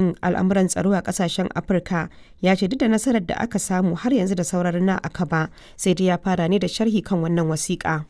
kan al'amuran tsaro a kasashen Afirka ya ce duk da nasarar da aka samu, har yanzu da sauran na aka ba. Sai dai ya fara ne da sharhi kan wannan wasiƙa.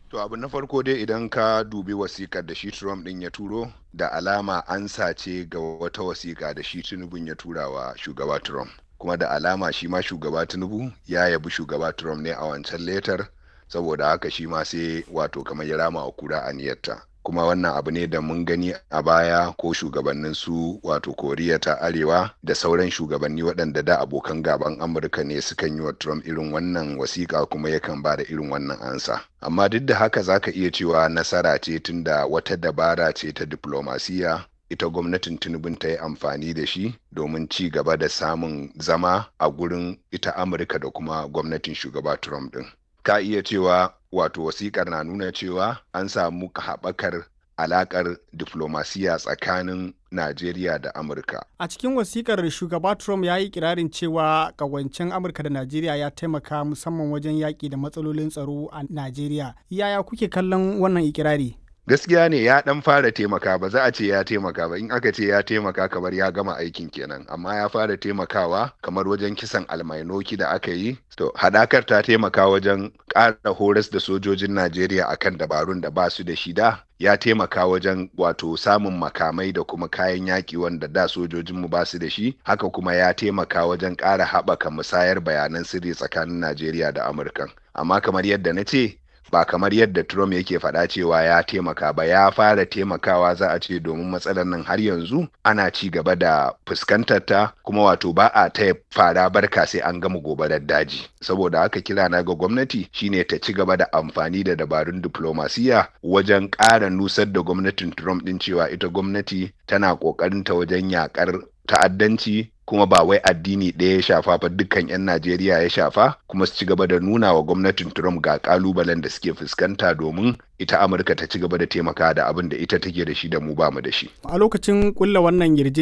To, abu na farko dai, idan ka dubi wasikar da shi Trump ɗin ya turo, da alama an sace ga wata wasiƙa da shi Tinubu ya tura wa shugaba Trump. Kuma da alama shi ma shugaba Tinubu ya yabi shugaba Trump ne a wancan letter, saboda haka shi ma sai wato kamar ya rama wa kura aniyarta. Kuma wannan abu ne da mun gani a baya, ko shugabannin su wato Koriya ta Arewa da sauran shugabanni waɗanda da abokan gaban Amurka ne, sukan yi wa Trump irin wannan wasiƙa kuma yakan ba da irin wannan ansa. Amma duk da haka, zaka iya cewa nasara ce, tunda wata dabara ce ta diplomasiya ita gwamnatin Tinubun ta yi amfani da shi domin ci gaba da samun zama a gurin ita Amurka da kuma gwamnatin shugaba Trump din. Ka iya cewa wato wasikar na nuna cewa an samu haɓakar alaƙar diflomasiya tsakanin Najeriya da Amurka. A cikin wasikar, shugaba Trump ya yi kirarin cewa ƙawancen Amurka da Najeriya ya taimaka musamman wajen yaƙi da matsalolin tsaro a Najeriya. Yaya kuke kallon wannan ikirari? Gaskiya ne, ya dan fara taimaka. Ba za a ce ya taimaka ba. In aka ce ya taimaka, kamar ya gama aikin kenan. Amma ya fara taimakawa, kamar wajen kisan Almainoki da aka yi. To, hadakar ta taimaka wajen ƙara horas da sojojin Najeriya akan dabarun da ba su da shi da. Ya taimaka wajen wato samun makamai da kuma kayan yaƙi wanda da sojojinmu ba su da shi. Haka kuma ya taimaka wajen ƙara haɓaka musayar bayanan sirri tsakanin Najeriya da Amurka. Amma kamar yadda na ce, ba kamar yadda Trump yake faɗa cewa ya taimaka ba, ya fara taimakawa za a ce, domin matsalar nan har yanzu ana ci gaba da fuskantar ta, kuma wato ba a taya fara barka sai an gama gobarar daji. Saboda haka kira na ga gwamnati shine ta ci gaba da amfani da dabarun diplomasiya wajen ƙara nusar da gwamnatin Trump din cewa ita gwamnati tana ƙoƙarin ta wajen yakar ta'addanci, kuma ba wai addini ɗaya ya shafa ba, dukkan 'yan Najeriya ya shafa, kuma su ci gaba da nuna wa gwamnatin Trump ga kalubalen da suke fuskanta, domin ita Amurka ta ci gaba da taimaka da abin da ita take da shi da mu ba mu da shi. A lokacin kulla wannan yarjejeniya